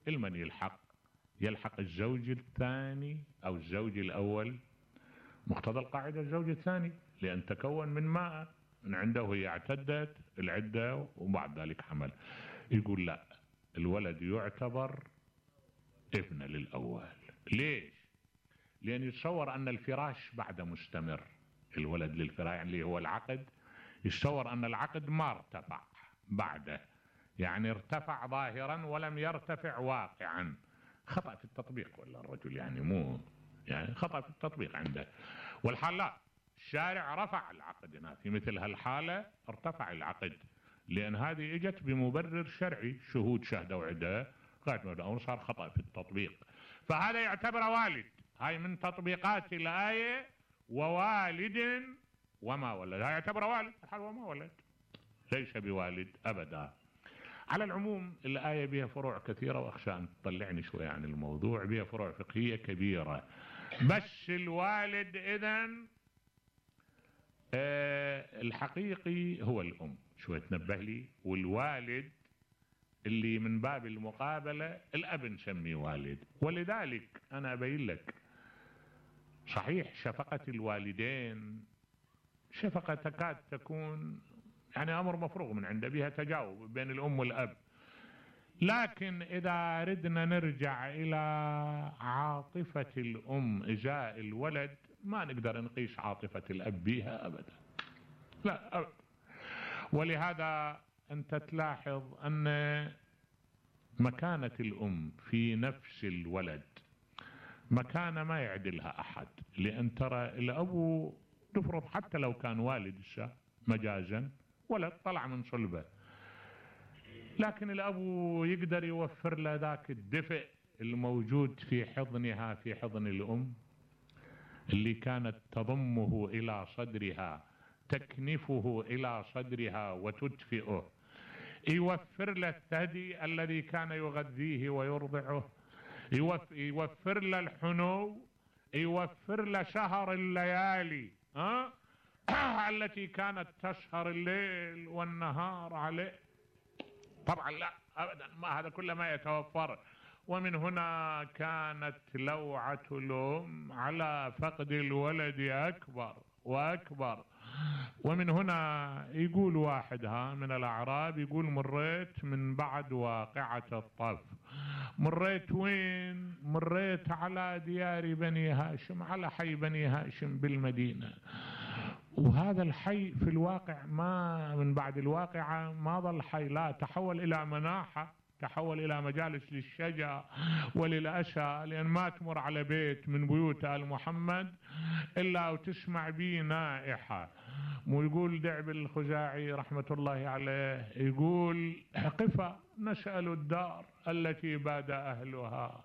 المن يلحق الزوج الثاني او الزوج الاول. مقتضى القاعدة الزوج الثاني، لان تكون من ماء من عنده، هي اعتدت العدة وبعد ذلك حمل. يقول لا، الولد يعتبر ابن للاول. ليش؟ لان يتصور ان الفراش بعد مستمر، الولد للفراش يعني اللي هو العقد، يتصور ان العقد ما ارتفع بعده، يعني ارتفع ظاهرا ولم يرتفع واقعا. خطأ في التطبيق ولا الرجل يعني مو يعني خطأ في التطبيق عنده. والحال لا، الشارع رفع العقد هنا، في مثل هالحالة ارتفع العقد، لان هذه اجت بمبرر شرعي، شهود شهدوا عده قاعد، صار خطأ في التطبيق. فهذا يعتبر والد. هاي من تطبيقات الآية ووالد وما ولد، هاي يعتبر والد الحال وما ولد، ليس بوالد ابدا. على العموم الآية بها فروع كثيرة، واخشى ان تطلعني شوية عن الموضوع، بها فروع فقهية كبيرة. بس الوالد اذن الحقيقي هو الام، شوية تنبه لي. والوالد اللي من باب المقابلة الاب نسميه والد. ولذلك انا ابين لك، صحيح شفقة الوالدين شفقة تكاد تكون يعني امر مفروغ من عنده، بها تجاوب بين الام والاب، لكن اذا ردنا نرجع الى عاطفة الام ازاء الولد ما نقدر نقيس عاطفة الاب بها ابدا، لا أبدا. ولهذا انت تلاحظ ان مكانة الام في نفس الولد مكانة ما يعدلها احد، لان ترى الاب تفرض حتى لو كان والد مجازا ولد طلع من صلبه، لكن الاب يقدر يوفر له ذاك الدفء الموجود في حضنها، في حضن الام اللي كانت تضمه الى صدرها، تكنفه الى صدرها وتدفئه، يوفر له الثدي الذي كان يغذيه ويرضعه، يوفر له الحنو، يوفر له سهر الليالي التي كانت تسهر الليل والنهار عليه. طبعا لا ابدا، ما هذا كله ما يتوفر. ومن هنا كانت لوعة الام على فقد الولد اكبر واكبر. ومن هنا يقول واحد من الاعراب، يقول مريت من بعد واقعة الطف. مريت وين؟ مريت على ديار بني هاشم، على حي بني هاشم بالمدينة، وهذا الحي في الواقع ما من بعد الواقعة ما ظل حي، لا تحول الى مناحة، تحول الى مجالس للشجع وللأسى، لان ما تمر على بيت من بيوت آل محمد الا وتسمع به نائحة. مو يقول دعب الخزاعي رحمة الله عليه، يقول قفا نسأل الدار التي باد اهلها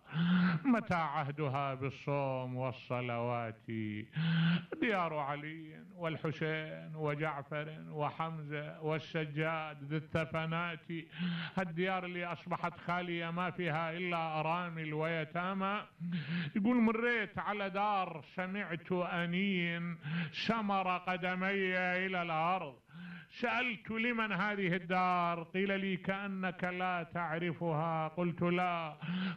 متى عهدها بالصوم والصلوات، ديار علي والحسين وجعفر وحمزة والسجاد ذي الثفنات، هالديار اللي اصبحت خالية ما فيها الا ارامل ويتامى. يقول مريت على دار سمعت انين سمر قدمي الى الارض، سألت لمن هذه الدار؟ قيل لي كأنك لا تعرفها. قلت لا.